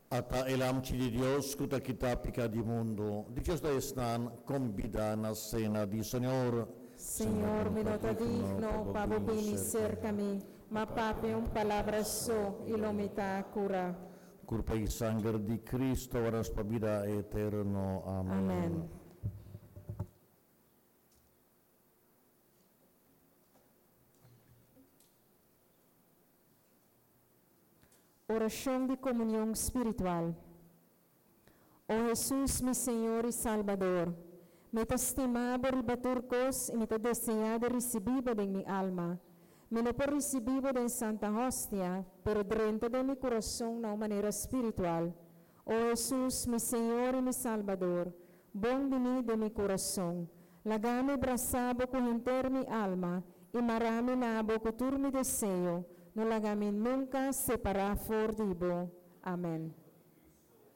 Ata e Lamchi di Dios ku ta kita piká di mundu. Dichoso ta esnan kombidá na sena di Señor. Señor, mi no ta digno pa bo bini serka mi, ma papia un palabra so i lo mi ta kurá. Kurpa i sanger di Cristo warda nos pa bida eterno. Amen. Amen. Orashon di komunion spiritual. O Hesus, mi Señor i Salbador, mi ta stima Bo riba tur kos i mi ta deseá di risibí Bo den mi alma. Mi no por risibí Bo den Santa Hostia, pero drenta den mi kurason na un manera spiritual. O Hesus, mi Señor i mi Salbador, bon biní den mi kurason. Laga mi brasá Bo ku henter mi alma i mará mi na Bo ku tur mi deseo. No laga mi nunka separá for di Bo. Amèn.